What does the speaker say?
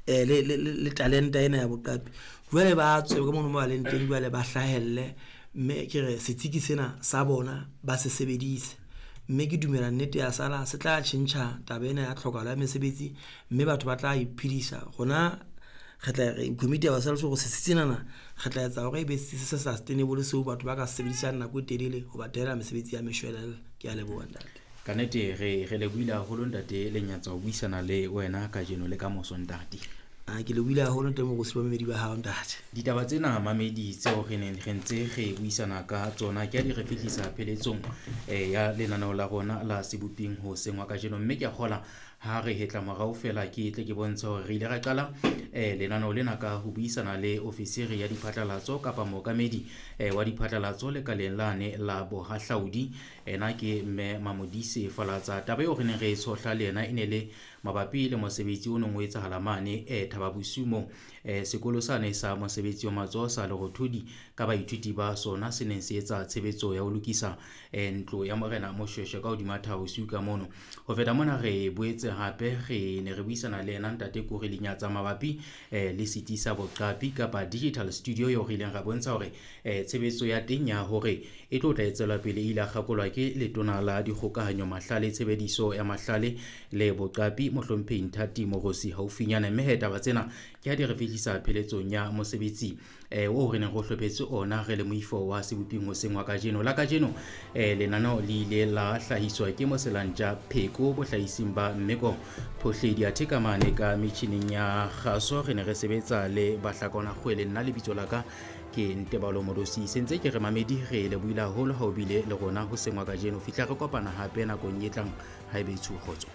le talenta ena ya boqapi. Jwale ba tswe ka mono mo ba leng teng, jwale ba hlahelle, mme ke re setsiki sena sa bona ba se sebedise. Mme ke dumela nnete ya sala se tla tjhentjha taba ena ya tlhokahalo ya mesebetsi, mme batho ba tla iphedisa. Rona re tla re commit ourselves hore setsi senana re tla etsa hore e be se se sustainable, seo batho ba ka se sebedisang nako e telele ho ba thehela mesebetsi ya meshwelella. Ke a leboha, ntate. Ka nnete re lebohile haholo, ntate Lenyatsa, ho buisana le wena kajeno le ka moso, ntate. A ke lebohile haholo, ntate Morusi, bamamedi ba hao, ntate. Ditaba tsena, mamedi, tseo re neng re ntse re buisana ka tsona ke a di re fihlisa pheletsong ya lenaneo la rona la Seboping hoseng wa kajeno, mme ke a kgola ha re hetla morao fela ke tle ke bontshe hore re ile ra qala lenaneo lena ka ho buisana le ofisiri ya diphatlalatso kapa mookamedi wa diphatlalatso lekaleng lane la bohahlaudi. Ena ke mme Mamodise Falatsa. Taba eo re neng re e tshohla le yena e ne le mabapi le mosebetsi o neng o etsahala mane Thaba Bosiu moo sekolo sane sa mosebetsi wa matsoho sa Lerothodi ka baithuti ba sona se neng se etsa tshebetso ya ho lokisa ntlo ya morena Moshweshwe ka hodima Thaba Bosiu ka mono. Ho feta mona re boetse hape re ne re buisana le yena ntate Kuri Lenyatsa mabapi le setsi sa boqapi kapa digital studio eo re ileng ra bontsha hore tshebetso ya teng ya hore e tlo tla e tswela pele e ile ya kgakolwa ke letona la dikgokahanyo, mahlale, tshebediso ya mahlale le boqapi, mohlomphehi Nthati Moorosi haufinyane. Mme he taba tsena ke ha di re fihlisa pheletsong ya mosebetsi oo re neng re o hlophetse ona re le moifo wa Seboping hoseng wa kajeno. La kajeno lenaneo le ile la hlahiswa ke Moselantja Pheko bohlahising ba Mmeko Phohledi, athe ka mane ka metjhining ya kgaso re ne re sebetsa le Bahlakwana Kgwele. Nna lebitso la ka ke Ntebalo Modosi. Sentse ke re mamedi re lebohile haholo ha o bile le rona hoseng wa kajeno. Fihla re kopana hape nakong e tlang, haebe tsho kgotso.